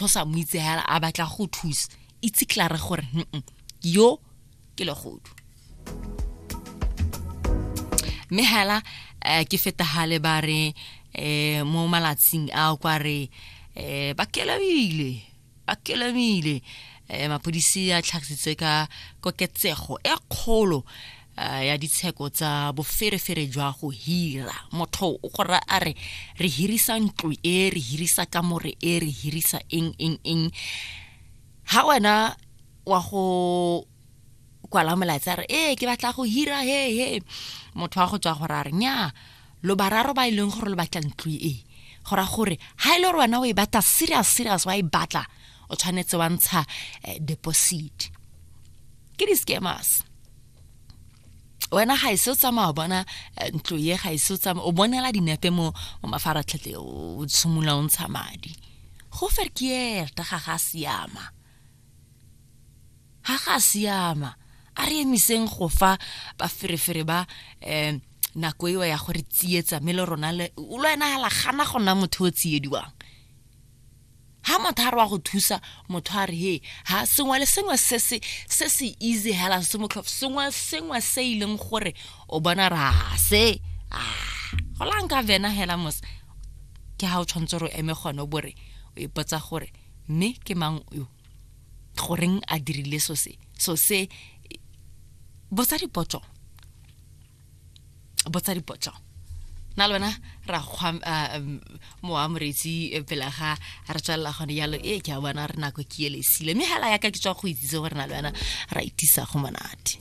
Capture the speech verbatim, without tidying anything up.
O sa mo itse hela a batla go thusa, itse klare gore mm yo ke legodu. Mme hela eh, ke feta hale ba re eh, mo malatsing a kwa re eh, ba kelamile ba kelamile eh, mapodisi a tlhagisitse ka koketsego e kgolo eh, ya ditsheko tsa boferefere jwa go hira. Motho o go ra a re re hirisa ntlo e, re hirisa kamore e, re hirisa eng eng eng. Ha wena wa go kwala molaetsa re ee ke batla go hira, he he motho wa go tswa gore a re nya lo bararo ba e leng gore lo batla ntlo e, go ra gore ha e le gore wena o e batla serious serious wa e batla, o tshwanetse wa ntsha eh, deposit. Ke di-scammers. Wena ga ise o tsamaya o bona eh, ntlo ye, ga ise o tsamaya o bonela dinepe mo mo mafaratlhatlheng, o tshimolola o ntsha madi. Go verkeerd, ga ga siama, ga ga siama. A re emiseng go fa baferefere ba um nako eo ya gore tsietsa, mme le rona le le wena hala gana go nna motho o tsiediwang. Ha motho a re wa go thusa, motho a re he ha sengwe le sengwe se se se se easy hela, se motlhofo, sengwe le sengwe se e leng gore o bona re a se a go la nka vena hela mos, ke ha o tshwanetse gore o eme gone o bore o ipotsa gore mme ke mang yo, goreng a dirile so se so se. Botsa dipotso, botsa dipotso. Na le wena ra kgwa mowa moreetsi eh, pele ga re tswelela gone jalo. E ke a bona re nako ke ele sile, mme hela yaka ke tswa go itsise gore na le wena ra itisa go monate.